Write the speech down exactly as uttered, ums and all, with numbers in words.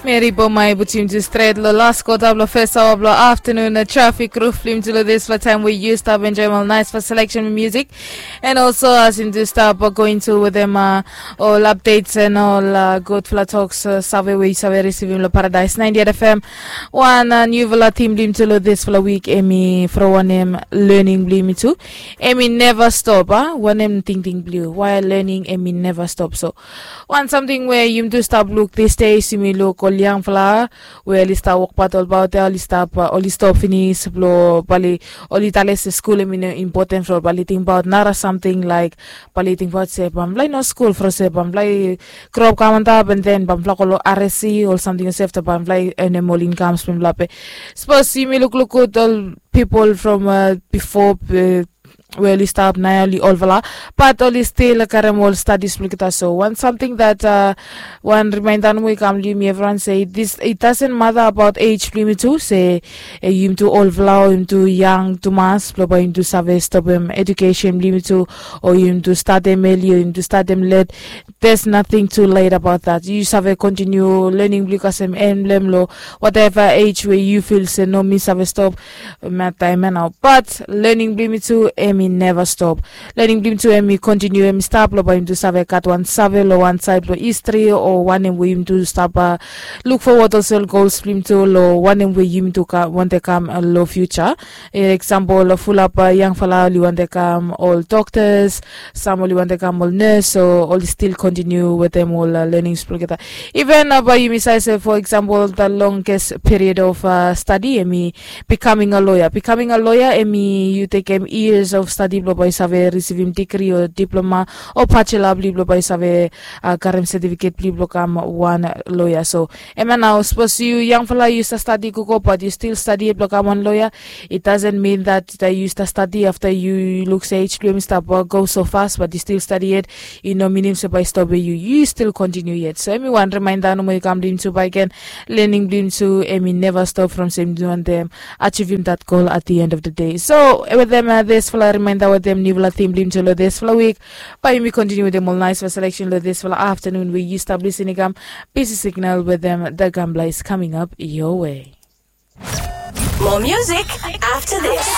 Meri Bomai putim tu stret lo las kota blo fes aoa blo aftanun na trafik ruf blim tu lo dispela taim we yu stap enjoim ol naispela seleksen musik. And also as yum tu stap going tu wetem ol updates and ol gudfala toks save we yu save risivim lo Paradise ninety-eight F M. Wan niufala tim blim tu lo dispela wik em i from wanem learning blim tu. Em i neva stop a wanem tingting blim why learning em i neva stop so wan samting we yum tu stap luk these days yumi luk ol yangfala we oli stap wokbaut olbaut ya oli stap oli stop finis blo bali oli tale se skul em i no impoten flo bali tingbaut nara samting laik bali tingbaut se bamfala i no skul fro se bamfala i grop kam antap and then bamfala go lo R S C ol samting olsef ta bamfala i enem ol inkams bamfala pe. Sapos yumi lukluk gut ol pipol from bifo we oli stap nao oli olfala bat oli stil karem ol stadis blong olgeta so wan samting dat wan rimainda nomo i kam long yumi evriwan se it dasen mata abaot ej blong yumi tu se yumi tu olfala o yumi tu yang tumas blong bae yumi tu save stopem edukesen blong yumi tu o yumi tu statem eli o yumi tu statem let. There's nothing too late abaot dat yu save kontiniu lening blong yu kasem emblem long wateva ej we yu fil se no mi save stop. Mataem ya nao bat lening blong yumi tu em i neva stop. Lening blong yumi tu em i kontiniu em i stap long bae yumi tu save gat wan save long wan saed blong histri o wanem we yumi tu stap luk fowat olsem gols blong yumi tu long wanem we yumi tu wante kam long fiuja. Eksampol fulap yangfala oli wante kam ol doktas, sam oli wante kam ol nes o oli stil kontiniu wetem ol lenings blong olgeta. Iven bae yumi save se fo eksampol da longest period of stadi em i bikaming a loya bikaming a loya em i yu tekem yias of stadi blong bae yu save risivim digri o diploma o bacela blong yu blong bae yu save karem setifiket blong yu blong kam wan loya so em ya nao sapos yu yangfala yu stap stadi gogo bat yu stil stadi yet blong kam wan loya. It dasen min dat yu stap stadi afta yu luk se ej blong yumi stap go so fas bat yu stil stadi yet i no minim se bae i stop we yu yu stil kontiniu yet so em i wan rimainda nomo i kam blong yumi tu bae gen lening blong yumi tu em i neva stop from se yumi tu wantem achivim dat gol at the end of the day so wetem disfala rimainda wetem niufala tim blong yumi tu long disfala wik. Bae yumi kontiniu wetem ol naisfala seleksen long disfala aftanun we yu stap lisin i kam bisi signal wetem the gambler is coming up your way. More music after this.